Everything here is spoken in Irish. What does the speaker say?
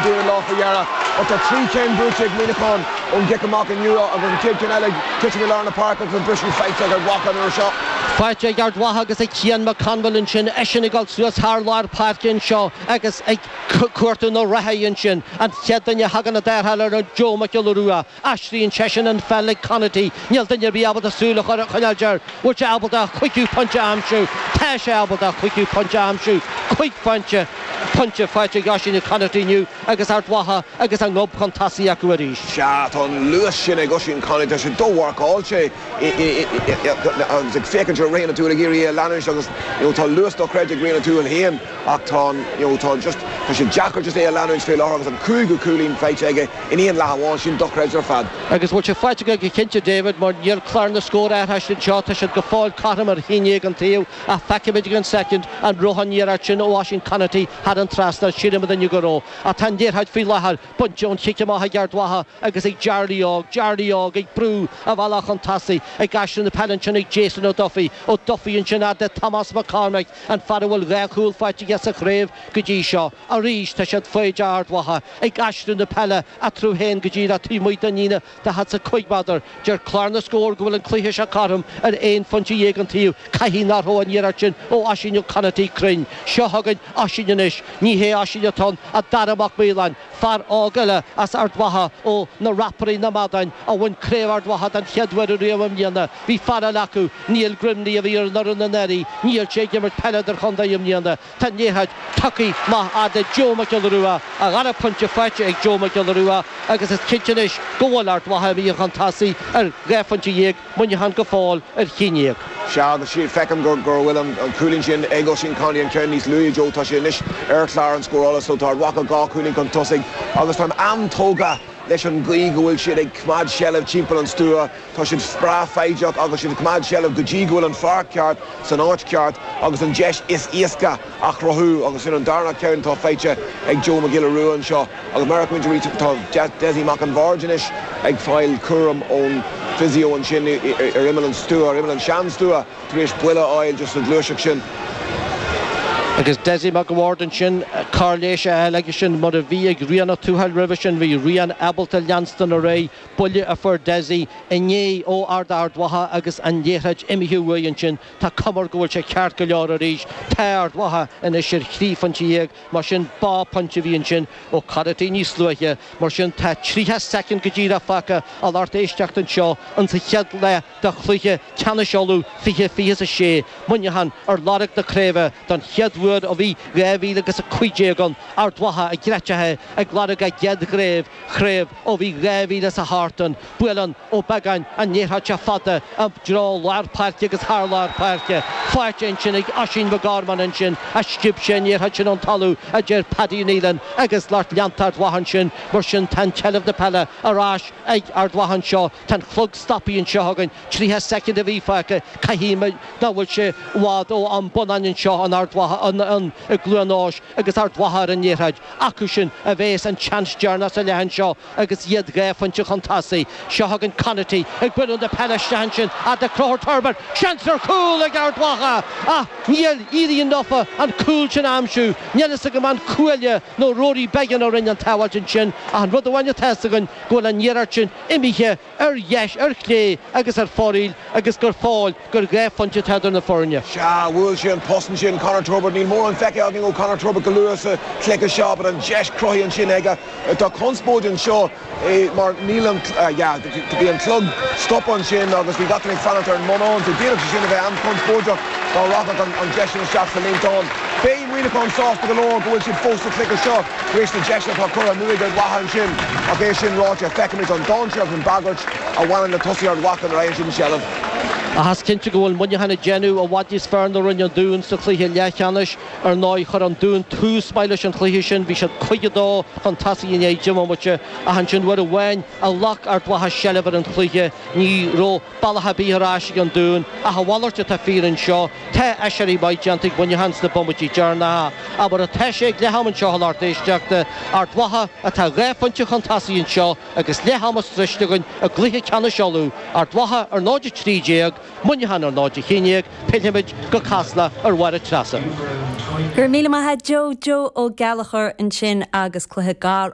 David Law faoi dheireadh. Ach tá 3 cinn buaite ag Muineachán ón gcic amach inniu agus an chéad cheann eile ag titim i lár na páirce agus an briseadh faighte ag Ard Mhacha an uair seo. Faighte ag Ard Mhacha agus ag Cian McConville ansin, eisean ag dul suas thar lár páirce anseo agus ag cuartú na reathaí ansin. An chéad duine a thagann i dtarrtháil air ná Joe Mac Giolla Rua. Aistríonn seisean an pheil ag Conaty. Níl duine ar bith ábalta súil a choinneáilt air. Bhfuil sé ábalta a chúigiú pointe a aimsiú? Tá sé ábalta a chúigiú pointe a aimsiú. Cúig phointe, pointe faighte ag Oisín Conaty inniu agus Ard Mhacha agus a ngob chun tosaigh acu arís. Sea, tá an luas sin ag Oisín Conaty. Tá sé do-mharcáilte agus ag féachaint ar Rian O'Toole ag iarraidh é a leanúint agus you know tá luas dochreidte ag Rian O'Toole féin ach tá an you know tá just tá sé deacair just é a leanúint fé láthair agus an cúigiú cúilín faighte aige in aon leath amháin, sin dochreidte ar fad. Agus bhfuil sé faighte aige go cinnte, David, mar níl clár na scór athraithe anseo, tá siad go fóill cothrom ar haon dhéag an taobh, ach feicimid ag an soicind an raibh an iarracht sin ó Oisín Conaty thar an trasnán, sílim inniu go raibh. Ach tá an liathróid faoi láthair bainte ón chic amach ag Ard Mhacha agus ag Jarly Óg, Jarly Óg ag brú a bhealach chun tosaigh, ag aistriú na peile ansin ag Jason O'Duffy, O'Duffy ansin fhad le Tomás McCormack, an fear a bhfuil dhá chúl faighte aige sa chraobh go dtí seo. Arís tá siad foighdeach Ard Mhacha ag aistriú na peile eatarthu féin go díreach taobh amuigh den líne daichead is a cúig méadar. Deir clár na scór go bhfuil an cluiche seo cothrom ar aon phointe dhéag an taobh. Caithfidh nach raibh an iarracht sin ó Oisín Conaty cruinn. Seo chugainn Oisín anois. Ní hé Oisín atá ann ach Dara Mac Maoláin, fear óg eile as Ard Mhacha ó na Rapairí na Madáin a bhain Craobh Ard Mhacha den chéad uair ariamh i mbliana. Bhí fear eile acu, Niall Grimley a bhí ar an fhoireann anuraidh. Níl sé ag imirt peile idirchontae i mbliana. Tá an liathróid tugtha amach fhad le Joe Mac Giolla Rua, a dhara pointe faighte ag Joe Mac Giolla Rua agus is cinnte anois go bhfuil Ard Mhacha imithe chun tosaigh ar dhá phointe dhéag, Muineachán go fóill ar cheann dhéag. Sea, agus feicim go bhfuil an cúilín sin ag Oisín Conaty, an ceann níos luaithe, Joe, tá sé anois ar chlár an scórála so tá Ard Mhacha dhá chúilín chun tosaigh agus táim an-tógtha leis an gcaoi go bhfuil siad ag coimeád seilbh timpeall an stua. Tá siad breá foighdeach agus siad ag coimeád seilbh go dtí go bhfuil an fear ceart san áit cheart agus an deis is éasca á chruthú agus sin an darna ceann atá faighte ag Joe Mac Giolla Rua anseo agus mar a fheicimid arís tá Dessie Mac an Bhaird anois ag fáil cúram ón physio ansin ar imeall an stua, ar imeall an sean-stua. Tar éis buille a fháil just sa ghluaiseacht sin. Agus Dessie Mac an Bhaird ansin, cóir leighis a fháil aige sin mar a bhí ag Rian Ó Tuathail roimhe sin. Bhí Rian ábalta leanstan ar aghaidh, buille a fuair Dessie inné ó fhear Ard Mhacha agus an liathróid imithe uaidh ansin. Tá cuma air go bhfuil sé ceart go leor arís. Tá Ard Mhacha anois ar thrí phointe dhéag, mar sin bá pointe a bhí ansin ó Conaty níos luaithe. Mar sin tá 30 soicind go díreach fágtha a lucht éisteachta anseo in sa chéad leath de chluiche ceannais Uladh 2026, Muineachán ar lorg na craoibhe don chéad uair ó bhí 2015 ann, Ard Mhacha i gcreiteacha ag lorg a gcéad chraobh chraobh ó bhí 2008 ann. Buaileann Ó Beagáin an liathróid seo fada i dtreo lár páirce agus thar lár páirce. Faighte ansin ag Oisín McGorman ansin ach sciob sé an liathróid sin ón talamh, a deir Paddy Nealon agus lucht leanta Ard Mhacha ansin. Mar sin tá an tseilbh na peile ar ais ag Ard Mhacha anseo. Tá an clog stoptha anseo againn, 30 soicind a bhí fágtha, caithfidh nach bhfuil sé i bhfad ó am bonnáin anseo in Ard Mhacha, i gCluain Eois agus Ard Mhacha ar an liathróid. Acu sin a bhéas an tseans deireanach sa leath anseo agus iad dhá phointe chun tosaigh. Seo chugainn Conaty ag bualadh na peile isteach ansin fhad le Conchúr Turbert, seans ar chúl ag Ard Mhacha ach níor éirigh leofa an cúl sin a aimsiú. Níl fhios agam an cuaille nó Rory Beggan a rinne an tsábháilt ansin ach an rud amháin atá fhios againn go bhfuil an iarracht sin imithe ar dheis, ar chlé agus ar fóraoil agus gur fóill gur dhá phointe atá idir na foirne. Sea, bhuail sé an post ansin, Conor Turbitt. Níl mórán feicthe againn ó Conor Turbitt go luath sa chluiche seo, but an deis cruthaithe ansin aige. Tá conspóid anseo mar níl an, yeah, bhí an clog stoptha ansin agus bhí gach duine ag fanacht ar an mbonnán, so d'fhéadfadh sé sin a bheith an-chonspóideach dá rachadh an deis sin isteach sa líontán. Beidh Muineachán sásta go leor go bhfuil siad fós sa chluiche seo tar éis na deiseanna atá curtha amú ag Ard Mhacha ansin. Ach é sin ráite, feicimid an dainséar agus an bhagairt a bhaineann le tosaithe Ard Mhacha nuair a fhaigheann siad an tseilbh. Ach is cinnte go bhfuil Muineachán ag déanamh i bhfad níos fearr ná rinne an Dún sa chluiche leathcheannais. Ar ndóigh, chuir an Dún tús maith leis an chluiche sin, bhí siad 5-2 chun tosaigh i ndiaidh deich mbomaite, ach ansin uair amháin a ghlac Ard Mhacha seilbh ar an chluiche, ní raibh bealach ar bith ar ais ag an Dún, ach a mhalairt atá fíor anseo. Tá aiséirí maith déanta ag Muineachán sna bomaití deireanacha. Ach mar atá sé ag leath-am anseo a lucht éisteachta, Ard Mhacha atá dhá phointe chun tosaigh anseo agus leath ama sroichte againn i gcluiche ceannais Uladh, Ard Mhacha ar 0-13, Muineachán ar 0-11, pillfimid go Casla ar Mháire Treasa. Go raibh míle maith a't Joe, Joe Ó Gallchóir ansin agus cluiche gar.